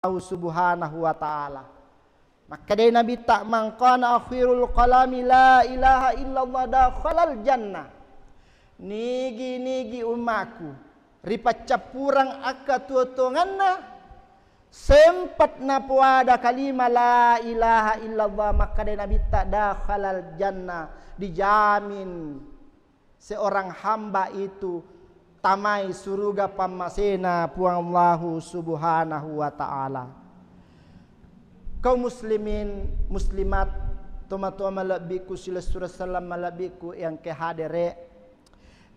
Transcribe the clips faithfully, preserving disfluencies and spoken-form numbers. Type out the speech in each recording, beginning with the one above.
Subhanahu wa Ta'ala. Makkedai Nabitta, "Man kana akhirul kalami la ilaha illallah dakhalal jannah." Nigi-nigi ummaku ripaccappurang akkatuo-tuongenna, sempat napoada kalima la ilaha illallah, makkedai Nabitta, "Dakhalal jannah," dijamin seorang hamba itu tamai suruga pammasena Puang Allahu Subhanahu wa Ta'ala. Kaum muslimin, muslimat, tomatoa malebbiku, silessureng selleng malebbiku yang ke hadere,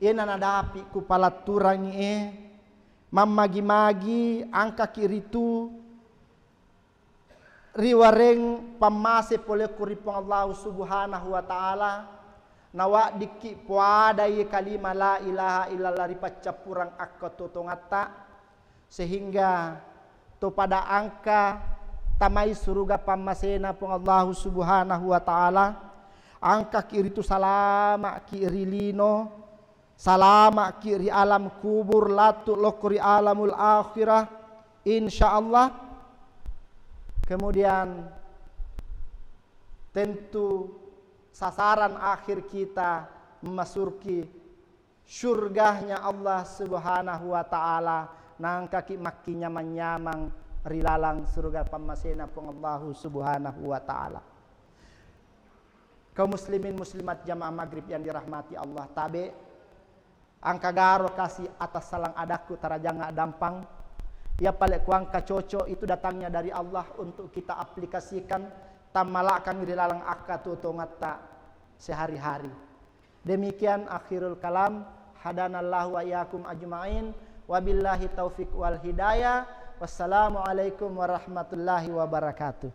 iyena nadapi ku palatturangi e, mammagi-magi angkaki ritu riwareng pammase pole ku ri Puang Allahu Subhanahu wa Ta'ala, nawaddikki poadai kalima la ilaha illallah ri paccappurang akkatuo-tuongatta, sehingga topada angka tamai suruga pammasena Puang Allahu Subhanahu wa Ta'ala, angkaki ritu salama'ki ri lino, salama'ki ri alam kubur, latu lokko ri alamul akhirah, insyaallah. Kemudian tentu sasaran akhir kita memasuki surganya Allah Subhanahu wa Ta'ala, nangkaki makkinyamang-nyamang ri lalang surga pammasena Puang Allahu Subhanahu wa Ta'ala. Kaum muslimin muslimat jamaah maghrib yang dirahmati Allah, tabe angka garo kasi atas salang adakku tarajang dampang. Iya pale ku angka cocok itu datangnya dari Allah untuk kita aplikasikan, tammalakang ri lalang akkatuo-tuongatta sehari-hari. Demikian akhirul kalam. Hadanallahu wa iyyakum ajmain. Wabillahi taufiq wal hidayah. Wassalamualaikum warahmatullahi wabarakatuh.